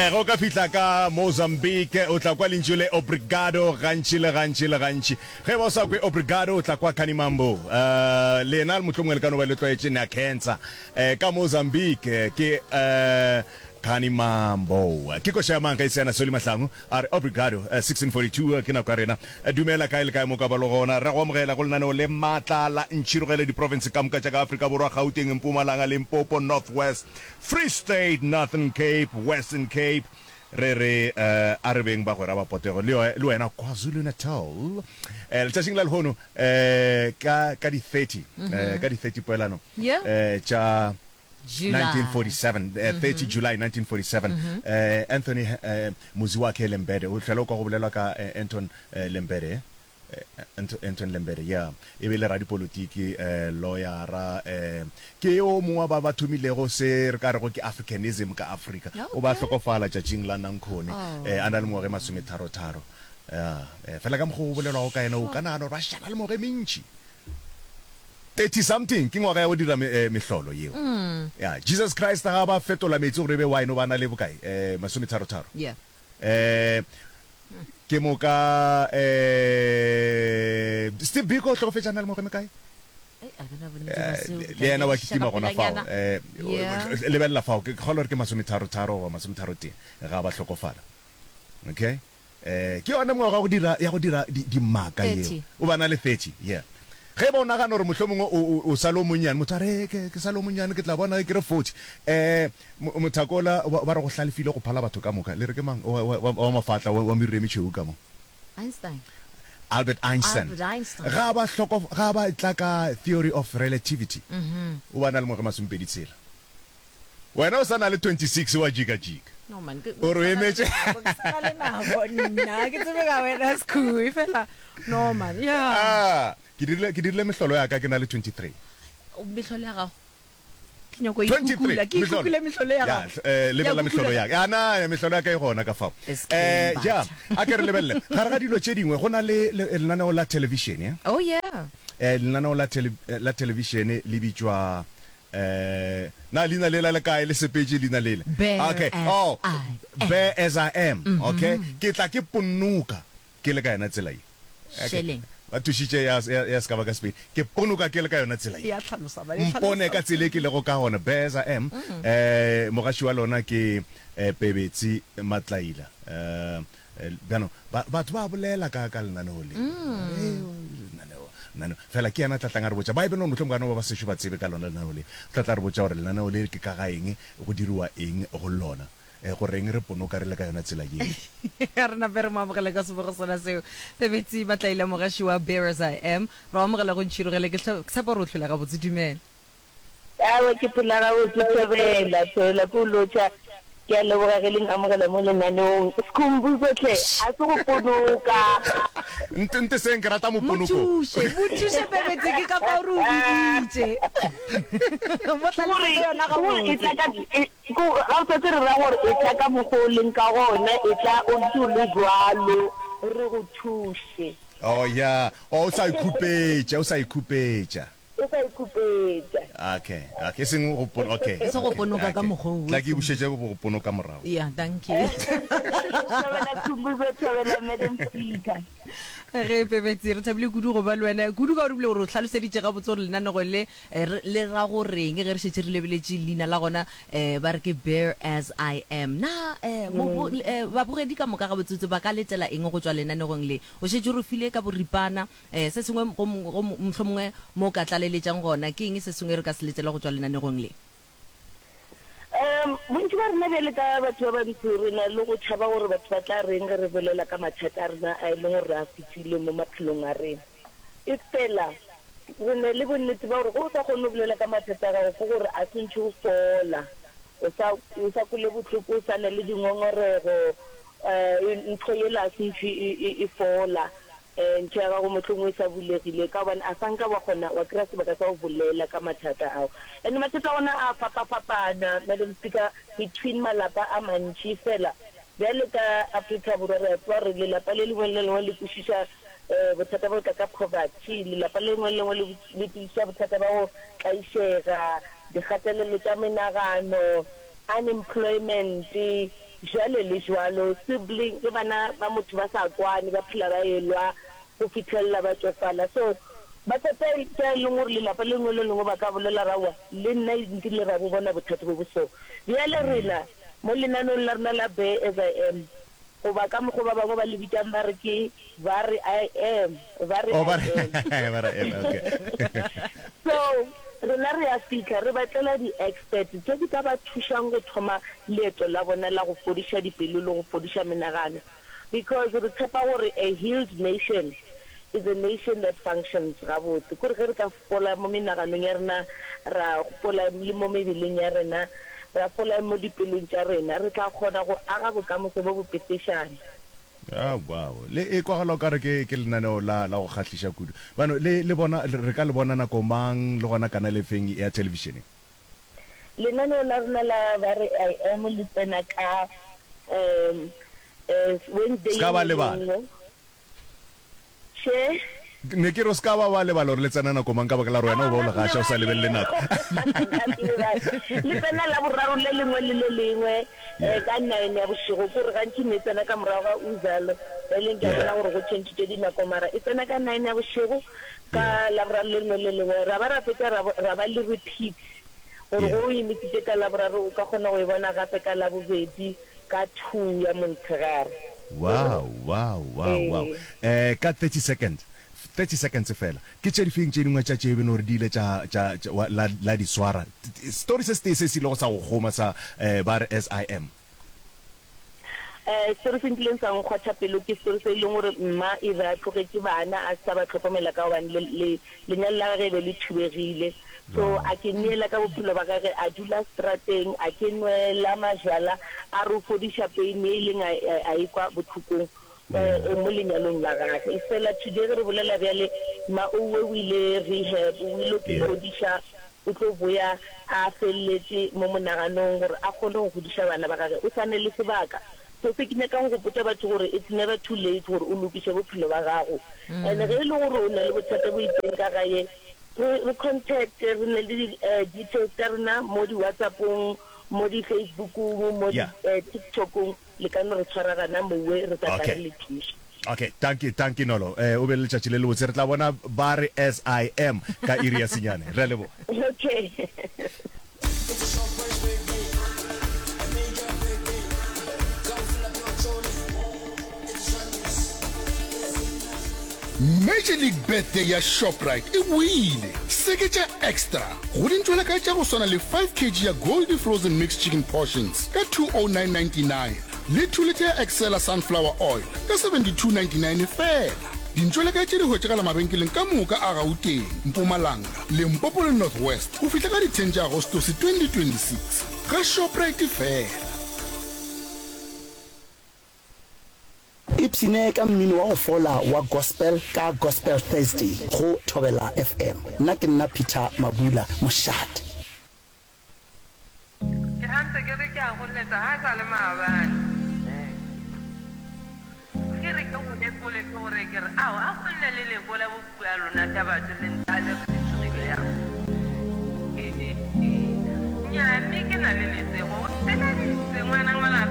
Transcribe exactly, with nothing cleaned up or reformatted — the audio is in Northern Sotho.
Eh, ge o ka fihla ka Mozambique o tla kwa lentšu le obrigado gantši le gantši le gantši. Ge e ba o sa kwe obrigado o tla kwa Kanimambo. Eh, lena mohlomongwe le ka no ba le tlwaetše na cancer. Eh, ka Mozambique ke eh, Kanimambo. Ke koša ya mang ge e se yana Solly Mahlangu a re obrigado. Eh, sixteen forty-two ke nako ya rena. Eh, dumela kae le kae mo ka ba le gona. Re go amogela go lenaneo le maatla la Ntšhirogele diprofense ka moka tša ka Afrika Borwa, Gauteng, Mpumalanga, Limpopo, North West, Free State, Northern Cape, Western Cape. Re re eh, a re beng bagwera ba potego le le wena KwaZulu-Natal. Eh, letšatšing la lehono eh, ka ka di thirty, eh, ka di thirty poelano Yeah. eh, tša July. nineteen forty-seven, eh, thirty July nineteen forty-seven, eh, Anthony eh, Muziwakhe Lembede o hlola o kwa go bolelwa ka eh, Anton eh, Lembede eh, Anto-, Anton Lembede, yeah, e be le radipolitiki, eh, lawyera, eh, ke yo mongwe wa ba ba thomilego se re ka rego ke Africanism ka Afrika. O ba Okay. hlokofala tšatšing la Nankone, Oh. eh, a na le mengwaga e masometharo-tharo. Yeah, eh, fela ka mokgwa o bolelwago ka yena o ka nagana gore ba šala le mengwaga e mentši. thirty something ke ngwaga ya go dira me, eh, mehlolo yeo. Mm. Yeah, Jesus Christ ga ba fetola metsi gore e be wine o ba na le bokae? Eh, masometharo-tharo. Yeah. Eh, ke moka eh, Steve Biko o hlokofetše a na le mengwaga e mekae? Ei, a ke na bonnete ba Eh, seo, le ke tla yena wa ke kitima šaka gona fao. pelanyana. Eh, Yeah. lebelela fao, ke kgolwa gore ke masometharo-tharo goba masometharo-tee ga ba hlokofala. Okay? Eh, ke yona mengwaga ya go dira, ya go dira di, dimaka yeo. Thirty. O ba na le thirty, yeah. Ge ba o nagana gore mohlomongwe o, o, o sa le o monnyane, motho a re, ke, ke sa le o monnyane, ke tla bona ge ke re forty. Eh, mo-, mothakola ba, ba re go hlalefile go phala batho ka moka. Le re ke mang? Wa, wa, wa, wa mafatla, wa, wa meriri e metšhweu ka mo. Einstein. Albert Einstein. Albert Einstein. Ga ba hloko, ga ba tla ka theory of relativity. Mm-hmm. O ba na le mengwaga e masomepedi tshela. Wena o sa na le twenty-six wa jika-jika. No man, ke O re o emetše. Ke sa na le nako nna, ke tsebe ka wena Skhoo, fela no man, yeah. Ah, ke dirile, ke dirile mehlolo ya ka ke na le twenty-three. Mehlolo ya gago? Ke nyako e twenty-three, kukula, ke mehlolo. ikukule mehlolo ya Ya, gago. eh, lebelela Ya mehlolo kukula. ya ka. Ya, na, mehlolo ya ka e gona ka fao. This Eh, came ja, back. a ke re lebelele. Gare ga dilo tše dingwe, go na le, le lenaneo la television, ya? Oh, yeah. Eh, lenaneo la tele, la television le bitšwa, eh, na leina lela le kae, le sepetše leina lela? Bear Okay. as Oh, I am. Bear as I am. Okay. Ke tla ke ponoka ke le ka yona tsela ye. Okay. Sheleng. Ba thušitše ya, ya, ya se ka ba ka Sepedi. Ke ponoka ke le ka yona tsela ye. Ya hlalosa, ba e Mpone hlalosa. ka tsela e ke lego ka gona. Bear as I am. Eh, mogaši wa lona ke, eh, Pebetsi Matlaila. Eh, eh, bjano, ba, batho ba bolela ka, ka lenaneo le. Eh, lenaneo, lenaneo. Fela ke yena a tla tlang a re botša. Ba e beno mohlomongwe ka no ba ba sešo ba tsebe ka lona lenaneo le. O tla tla re botša gore lenaneo le ke ka ga eng, go diriwa eng go lona. Eh, go reng re ponoka re le ka yona tsela yeo. A re nape re mo amogele ka sebogo sona seo. Pebetsi Matlaila, mogaši wa Bear as I Am. Re o amogela go Ntšhirogele. Ke hlo-, ke tshepa gore o hlola gabotse. Dumela. Aowa, ke phela gabotse, thobela, thobela, ke o lotšha. Ke a leboga ge le nkamogela mo lenaneong. Skhumbuzo hle, a se go ponoka. Nte, nte seng, ke rata Mo moponoko. thuše, mo thuše Pebetsi, ke ka fao re o biditše. Mo Ke gore, hlalosetše yona ke gore e gabotse. tla ka, e, ke gore, ga o tsetse re ra gore e tla ka mokgwa o leng ka gona, e tla o ntse o le jwalo, re go thuše. Oh, yeah. Oh, o sa ikhupetša, o sa ikhupetša. O sa ikhupetša. Okay, okay, e seng go pon-, okay, E seng go okay, ponoka ka okay. mokgwa o Tla ke seng. bušetše go ponoka morago. Yeah, thank you. Thobela Khumbuzo, thobela Madam Speaker. Ge Pebetsi, re thabile kudu go ba le wena, kudu ka gore ebile gore o hlaloseditše gabotse gore lenanego le, eh, re, le ra go reng ge re šetše re lebeletše leina la gona, eh, ba re ke Bear as I Am. Na, eh, mo, bo, eh, babogedi ka moka gabotsebotse ba ka letela eng go tšwa lenanegong le? O šetše o re file ka boripana, eh, se sengwe go, go, mohlomongwe mo o ka tlaleletšang gona, ke eng se sengwe re ka se letela go tšwa lenanegong le? Um, bontši ba rena bjale ka batho ba bantsho re na le go tšhaba gore batho ba tla reng ge re bolela ka mathata a rena a e leng gore re a fetile mo maphelong a rena. E fela re na le bonnete ba gore ge o sa kgone go bolela ka mathata a gago ke gore a se ntšhe o fola, o sa, o sa kwele bohloko, o sa na le dingongorego, eh, ntho yela a se ntšhe e, e, e fola, eh, ntho ya gago mohlomongwe e sa bulegile ka gobane a sa nka wa kgona wa kry-a sebaka sa go bolela ka mathata ao. And mathata a gona a fapafapana, Madam Speaker, between malapa a mantši. Fela bjale ka Afrika Borwa re a tseba gore lelapa le lengwe le le lengwe le kwešiša, eh, bothata ba go tla ka poverty, lelapa le lengwe le lengwe le, le kwešiša bothata ba go tlaišega, dikgatelelo tša menagano, unemployment, jwale le jwalo. Sibling, ge bana ba motho ba sa kwane, ba phela ba elwa go fihlelela ba tšofala. So mathata ke a e leng gore lelapa le lengwe le lengwe ba ka bolela ra aowa, le nna nkile ra bo bona bothata bo bo so. Bjale rena mo lenaneong la rena la Bear As I Am, goba ka mokgo ba bangwe ba le bitšang ba re ke Ba re I am, ba re Oh, I ba re am. ba re I am, okay. So rena re a fihla re ba tlela di-expert tše di ka ba thušang go thoma leeto la bona la go fodiša dipelo le go fodiša menagano because re tshepa gore a healed nation is a nation that functions gabotse. Kore ge re ka fola mo menaganong ya rena, ra fola le mo mebeleng ya rena, ra fola mo dipelong tša rena, re tla kgona go aga bokamoso bo bo petešana. Ah, wow. Le e kwagala o kare ke, ke lenaneo la, la go kgahliša kudu. Bano, le, le bona, re ka le bona nako mang le gona kanale efeng ya thelebišene? Lenaneo la rena la Ba Re I Am le tsena ka um eh, Wednesday Se ye ka ba nngwe le ye lebala. nngwe. Che. Ne ke re o se ka ba wa lebala gore le tsena nako mang ka baka la gore wena o Aowa, be o nka le se gaša o sa lebale. lebelele nako. Nka se lebale. Le tsena Laboraro le lengwe le le lengwe Yeah. eh, ka nine ya bošego. Ke gore gantši ne e tsena ka morago ga Uzalo, bjale ke a Yeah. bona gore go tšhentšhitše dinako mara e tsena ka nine ya bošego ka Yeah. Laboraro le lengwe le le lengwe. Ra ba ra fetša ra, ra ba le repeat gore Yeah. ge o e missitše ka Laboraro o ka kgona go e bona gape ka Labobedi ka two ya montshegare. Wow, wow, wow, wow. Ee. Eh, ka thirty seconds, thirty seconds fela, ke tše difeng tše dingwe tša tše e beno gore di ile tša, tša, tša, wa, la, la di swara? Story se setee se se ilego sa go kgoma sa, eh, ba re S I M. Eh, story se nkileng sa nkgwatha pelo ke story se e leng gore mma e be a tlogetše bana a se sa ba hlokomela ka gobane le, le, lenyalo la gage e be le thubegile. So Wow. a ke neela ka bophelo ba gage, a dula strateng, a ke nwela majwala, a re o fodiša pain ye e leng a, a, a e kwa bohlokong Yeah. eh, mo lenyalong la gage. Efela today ge re bolela bjale, mma owe o ile rehab, o ile go Yeah. fodiša, o tlo boya a feleletše mo monaganong gore a kgone go godiša bana ba gage. O sa ne le sebaka. So se ke nyakang go gopotša batho gore it's never too late gore o lokiše bophelo ba gago. And ge e le gore o na le bothata bo itseng ka gae, re re contact, re ne le di details tša rena mo di WhatsApp-ong, mo di Facebook-ong, mo di Yeah. TikTok-ong, le ka no re tshwara gana mowe, re tla tla re Okay. le thuša. Okay, dankie, dankie Nolo. Eh, o be le letšatši le lebotse. Re tla bona ba re S I M ka iri ya senyane. Re a leboga. Okay. Major League Birthday ya Shoprite e boile! Seketša extra go dintšwelakae tša go swana le five kg ya Goldie Frozen Mixed Chicken Portions ka two oh nine ninety nine le two litre ya Excella Sunflower Oil ka seventy two ninety nine feela. Dintšwelakae tše di hwetšagala mabenkeleng ka moka a Gauteng, Mpumalanga, Limpopo le North West go fihla ka di ten tša Agostose twenty twenty six. Ga Shoprite feela. Ipshine ka mmino wa go fola wa gospel ka Gospel Thursday go Thobela F M. Nna ke nna Peter Mabula, mošate. Ke ga ntse ke re ke a go letsa ga e sa le maabane. Ke re ke go lekole ke go re ke re ao a go nne le lekola bo puo ya lona tša batho le ntha le re le tsogile yang. Nnyaa mme ke na le lesego o mpeleditse ngwana ngwana